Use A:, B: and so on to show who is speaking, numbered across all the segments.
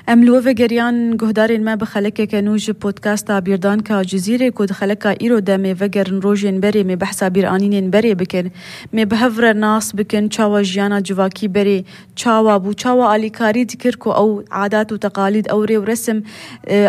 A: ام لوفه گریان گهدارین ما بخلکه کنوج پودکاستا بیردان که جزیره کود خلکه ایرو ده می وگرن روژین بری می بحثا بیرانین بری بکن می بهفر ناس بکن چاوا جیانا جواکی بری چاوا بو چاوا آلیکاری دکر کو او عادات و تقالید او ری و رسم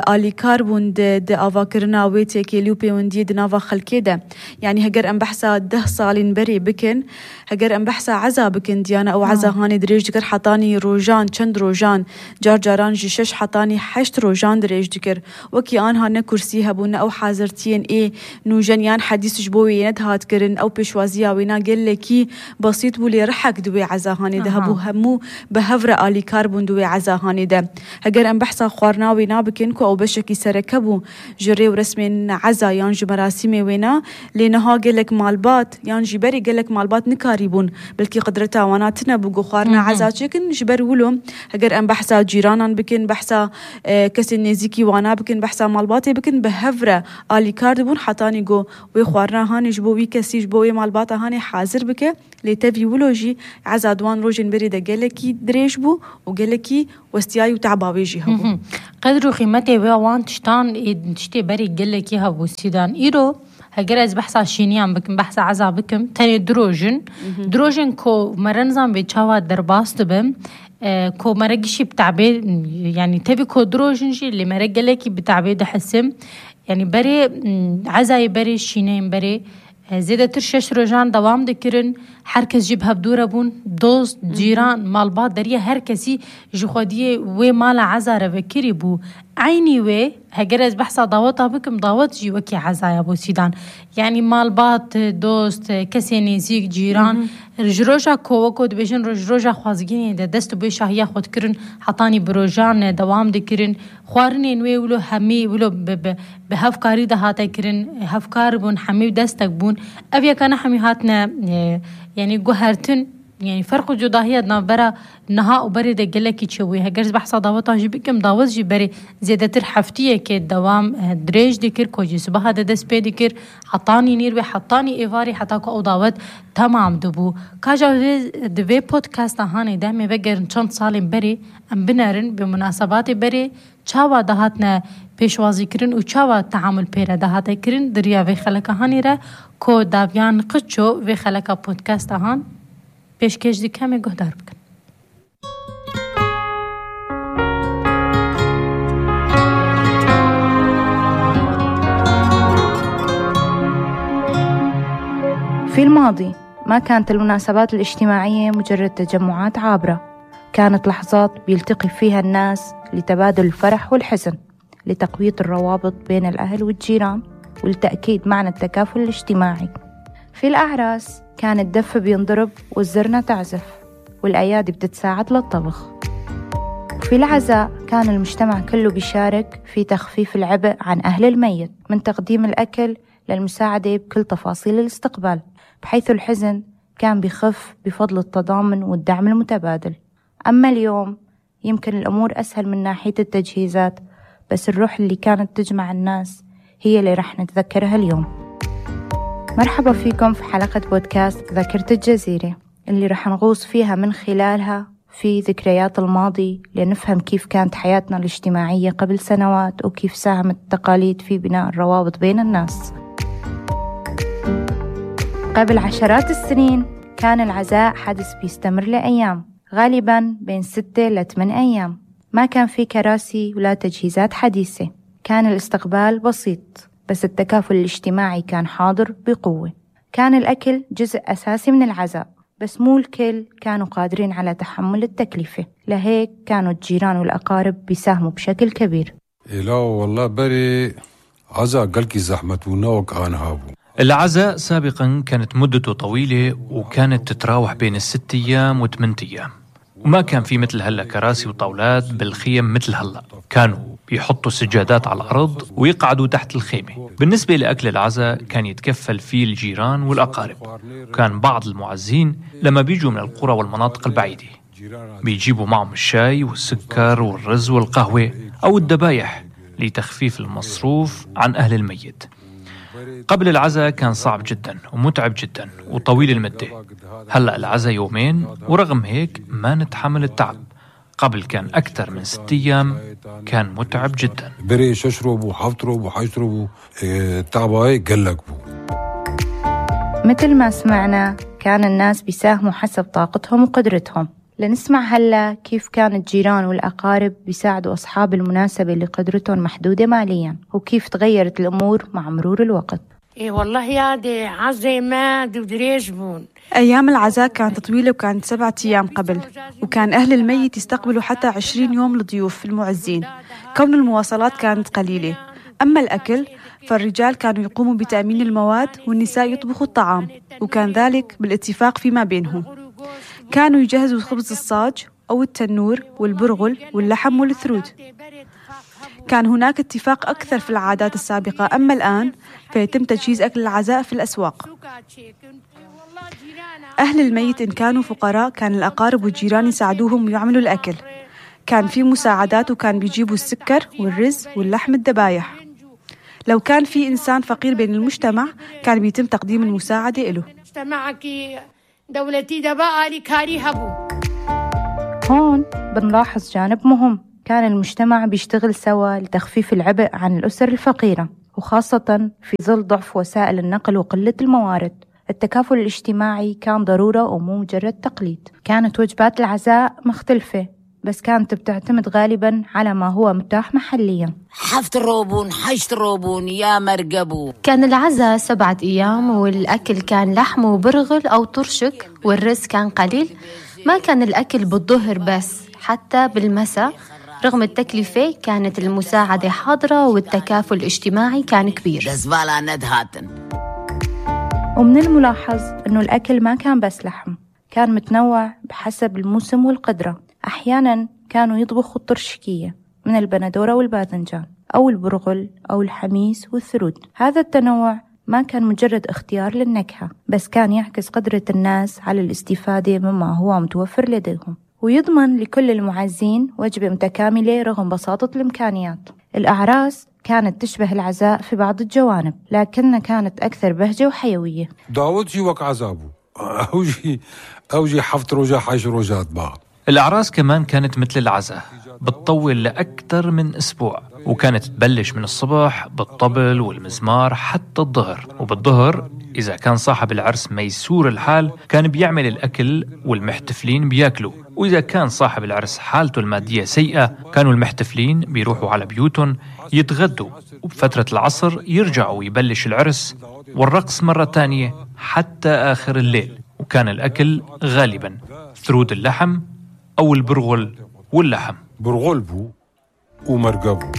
A: آلیکار بون ده آواکرنا ویتی که لیو پیوندی دناوا خلکه ده یعنی هگر ام بحثا 10 سالین بری بکن هگر ام بحثا عزا بکن دیانا او عزا هانی دریج دکر حطانی روژان چند روژان جار جاران جشش حطاني 8 روجان دريج دكر وكي آنها نكرسي هبون أو حازرتين إيه نوجنيان حديث جبوي ندهات كرن أو بشوازيا وينا قل لكي بسيط بولي رحك دوي عزاهاني ده هبو همو بهفر آلي كاربون دوي عزاهاني ده هجر أم بحثا خوارنا وينا بكنكو أو بشكي سركبو جري ورسمين عزا يانجي مراسمي وينا لينها قلك مالبات يانجي بري قلك مالبات نكاريبون بلكي قدرتها واناتنا بقو خوارنا عزا چكن جبر ولو هجر أم بحثا جيرانان بكن بحثا كسي نزيكي وانا بكن بحثا مالباتي بكن بهفرة آلي كارد بون حتاني جو ويخوارنا هاني جبوي كسي جبوي مالباتا هاني حاضر بك لتفي ولوجي عزادوان روجين بريدة قلكي دريش بو وقلكي وستياي وتعباوي جي هبو
B: قدروا خيمتي وان تشتي بري قلكي هبو سيدان إيرو هجر از بحث شینیان بکم بحث عزا بکم تاني دروجن كو مرنزان بيتشاوا درباست بم كو مرقشي بتعبير يعني تبي كو دروجنجي اللي مرقلكي بتعبير ده حسم يعني بري عزاي بري شينين بري زيادة ترشش روجان دوام دكرن هركس جيبها بدورة بون دوست جيران مالبات دريا هركسي جخودية ومالا عزا رفكري بو عيني وي هجرز بحثا ضاوطها بكم ضاوط جي وكي عزايا بو سيدان يعني مالبات دوست كسي نزيك جيران رجروجا كووكو دبيجن رجروجا خوازگيني ده دستو بيشا هيا خود كرن حطاني بروجان دوام دكرن خوارني نوي ولو همي ولو بهفكاري ده هاتا كرن هفكار بون همي دستك بون أبيا كان همي هاتنا يعني جوهرتن يعني فرق جداهية نبرة نها وبري ده جلكي تشوي هجرز بحثا ضاوطها جيبكم ضاوط جي بري زيادة حفتية كدوام دريج دكر كوجي سبها ده دس بيدكر حطاني نير وحطاني إيفاري حتى كو ضاوط تمام دبو كاجا دبي بودكاست هاني ده مي بقر چند سالين بري ام بنارن بمناسبات بري چاوا دهاتنا پیشوازی کرن و چاوا تعامل پیرا دهاته کرن دریا وی خلک هانی را کو داویان قچو وی خلک پودکاست هان پیشکش دی کمی گهدار بکن.
C: في الماضي ما كانت المناسبات الاجتماعية مجرد تجمعات عابرة، كانت لحظات بيلتقي فيها الناس لتبادل الفرح والحزن، لتقوية الروابط بين الأهل والجيران، ولتأكيد معنى التكافل الاجتماعي. في الأعراس كان الدف بينضرب والزرنة تعزف والأيادي بتتساعد للطبخ. في العزاء كان المجتمع كله بيشارك في تخفيف العبء عن أهل الميت، من تقديم الأكل للمساعدة بكل تفاصيل الاستقبال، بحيث الحزن كان بيخف بفضل التضامن والدعم المتبادل. أما اليوم يمكن الأمور أسهل من ناحية التجهيزات، بس الروح اللي كانت تجمع الناس هي اللي رح نتذكرها اليوم. مرحبا فيكم في حلقة بودكاست ذاكرة الجزيرة، اللي رح نغوص فيها من خلالها في ذكريات الماضي لنفهم كيف كانت حياتنا الاجتماعية قبل سنوات، وكيف ساهمت التقاليد في بناء الروابط بين الناس. قبل عشرات السنين كان العزاء حدث بيستمر لأيام، غالبا بين 6 ل 8 أيام. ما كان في كراسي ولا تجهيزات حديثة، كان الاستقبال بسيط، بس التكافل الاجتماعي كان حاضر بقوة. كان الأكل جزء أساسي من العزاء، بس مو الكل كانوا قادرين على تحمل التكلفة، لهيك كانوا الجيران والأقارب بيساهموا بشكل كبير.
D: لا والله بري عزاء قلقي زحمة ونوك هابو.
E: العزاء سابقا كانت مدته طويلة، وكانت تتراوح بين 6 أيام و 8 أيام، وما كان في مثل هلا كراسي وطاولات بالخيم مثل هلا. كانوا بيحطوا سجادات على الأرض ويقعدوا تحت الخيمة. بالنسبة لأكل العزاء كان يتكفل فيه الجيران والأقارب، وكان بعض المعزين لما بيجوا من القرى والمناطق البعيدة بيجيبوا معهم الشاي والسكر والرز والقهوة أو الدبايح لتخفيف المصروف عن أهل الميت. قبل العزاء كان صعب جدا ومتعب جدا وطويل المدة. هلأ العزاء 2 يوم، ورغم هيك ما نتحمل التعب. قبل كان أكثر من 6 أيام كان متعب جدا.
D: بري ششرب وحفطرب وحيشرب تعباي قلق بو.
C: مثل ما سمعنا كان الناس بيساهموا حسب طاقتهم وقدرتهم. لنسمع هلا كيف كان الجيران والأقارب بيساعدوا أصحاب المناسبة اللي قدرتهم محدودة ماليا، وكيف تغيرت الأمور مع مرور الوقت.
F: إيه والله يا دي عزي ماد ودريش بون.
A: أيام العزاء كانت طويلة وكانت 7 أيام قبل، وكان أهل الميت يستقبلوا حتى 20 يوم الضيوف المعزين، كون المواصلات كانت قليلة. أما الأكل فالرجال كانوا يقوموا بتأمين المواد والنساء يطبخوا الطعام، وكان ذلك بالاتفاق فيما بينهم. كانوا يجهزوا خبز الصاج أو التنور والبرغل واللحم والثرود. كان هناك اتفاق أكثر في العادات السابقة، أما الآن فيتم تجهيز أكل العزاء في الأسواق. أهل الميت إن كانوا فقراء كان الأقارب والجيران يساعدوهم ويعملوا الأكل. كان في مساعدات وكان بيجيبوا السكر والرز واللحم الذبايح. لو كان في إنسان فقير بين المجتمع كان بيتم تقديم المساعدة له.
C: هون بنلاحظ جانب مهم، كان المجتمع بيشتغل سوا لتخفيف العبء عن الأسر الفقيرة، وخاصة في ظل ضعف وسائل النقل وقلة الموارد. التكافل الاجتماعي كان ضرورة ومو مجرد تقليد. كانت وجبات العزاء مختلفة، بس كانت بتعتمد غالبا على ما هو متاح محليا.
G: حفتروبون حيشتروبون يا مرقبو.
H: كان العزاء 7 أيام، والأكل كان لحم وبرغل أو طرشك، والرز كان قليل. ما كان الأكل بالظهر بس، حتى بالمساء. رغم التكلفة كانت المساعدة حاضرة والتكافل الاجتماعي كان كبير.
C: ومن الملاحظ أنه الأكل ما كان بس لحم، كان متنوع بحسب الموسم والقدرة. أحيانا كانوا يطبخوا الطرشكية من البندورة والباذنجان، أو البرغل أو الحميس والثرود. هذا التنوع ما كان مجرد اختيار للنكهة، بس كان يعكس قدرة الناس على الاستفادة مما هو متوفر لديهم، ويضمن لكل المعزين وجبة متكاملة رغم بساطة الإمكانيات. الأعراس كانت تشبه العزاء في بعض الجوانب، لكنها كانت أكثر بهجة وحيوية.
D: داود شي وقع عذابه أوجي حفط رجا حيش رجات بقى.
E: الأعراس كمان كانت مثل العزاء، بتطول لأكثر من أسبوع، وكانت تبلش من الصبح بالطبل والمزمار حتى الظهر. وبالظهر إذا كان صاحب العرس ميسور الحال كان بيعمل الأكل والمحتفلين بياكلوا، وإذا كان صاحب العرس حالته المادية سيئة كانوا المحتفلين بيروحوا على بيوتهم يتغدوا، وبفترة العصر يرجعوا ويبلش العرس والرقص مرة تانية حتى آخر الليل. وكان الأكل غالبا ثرود اللحم أو البرغل واللحم.
D: برغل بو ومرقبو.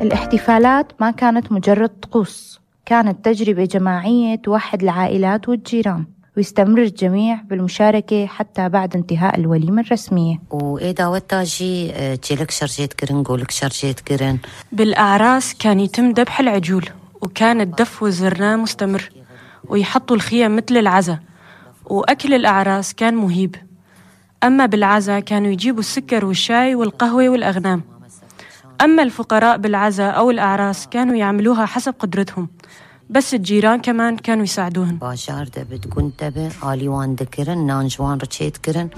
C: الاحتفالات ما كانت مجرد طقوس، كانت تجربة جماعية توحد العائلات والجيران، ويستمر الجميع بالمشاركة حتى بعد انتهاء الوليمة الرسمية.
G: وإذا وتاجي تجيلك شرجيت كرن قولك شرجيت كرن.
I: بالأعراس كان يتم ذبح العجول، وكان الدف والزرناء مستمر، ويحطوا الخيام مثل العزاء، وأكل الأعراس كان مهيب. أما بالعزاء كانوا يجيبوا السكر والشاي والقهوة والأغنام. أما الفقراء بالعزاء أو الأعراس كانوا يعملوها حسب قدرتهم، بس الجيران كمان كانوا يساعدوهن.
G: باشار دبت كنت آليوان دكرن نانجوان رشيت كرن.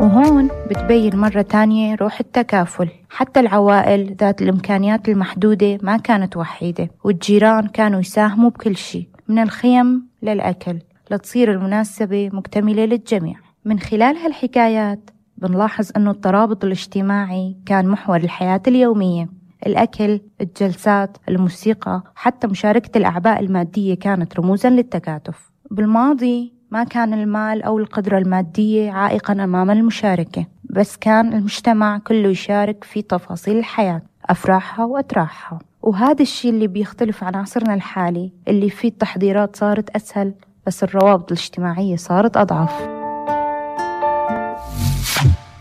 C: وهون بتبين مرة تانية روح التكافل. حتى العوائل ذات الإمكانيات المحدودة ما كانت وحيدة، والجيران كانوا يساهموا بكل شيء من الخيم للأكل لتصير المناسبة مكتملة للجميع. من خلال هالحكايات بنلاحظ أنه الترابط الاجتماعي كان محور الحياة اليومية. الأكل، الجلسات، الموسيقى، حتى مشاركة الأعباء المادية كانت رموزاً للتكاتف. بالماضي ما كان المال أو القدرة المادية عائقاً أمام المشاركة، بس كان المجتمع كله يشارك في تفاصيل الحياة، أفراحها وأتراحها. وهذا الشيء اللي بيختلف عن عصرنا الحالي اللي فيه التحضيرات صارت أسهل، بس الروابط الاجتماعية صارت أضعف.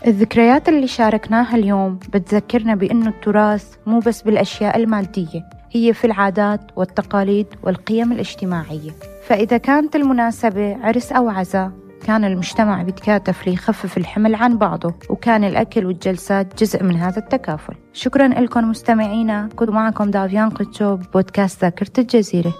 C: الذكريات اللي شاركناها اليوم بتذكرنا بأنه التراث مو بس بالأشياء المادية، هي في العادات والتقاليد والقيم الاجتماعية. فإذا كانت المناسبة عرس أو عزاء كان المجتمع بيتكاتف ليخفف الحمل عن بعضه، وكان الأكل والجلسات جزء من هذا التكافل. شكرا لكم مستمعينا، كنت معكم دافيان قتشو بودكاست ذاكرة الجزيرة.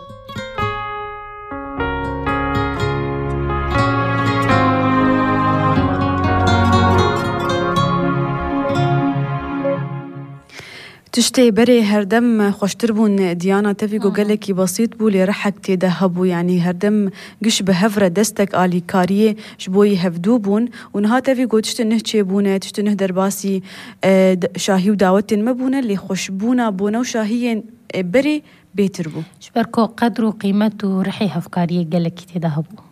A: تشتي بري هردم خوشتربون ديانا تفيقو قالكي بسيط بولي رحك تيدهبو يعني هردم قش بهفرة دستك آلي كاريه شبوي هفدوبون ونها تفيقو تشتي نهتشي بونه تشتي نهدر باسي شاهي وداوتين مبونه اللي خوشبونا بونه وشاهيين بري بيتربو
B: شبركو قدرو قيمته رحي هفكاريه قالكي تيدهبو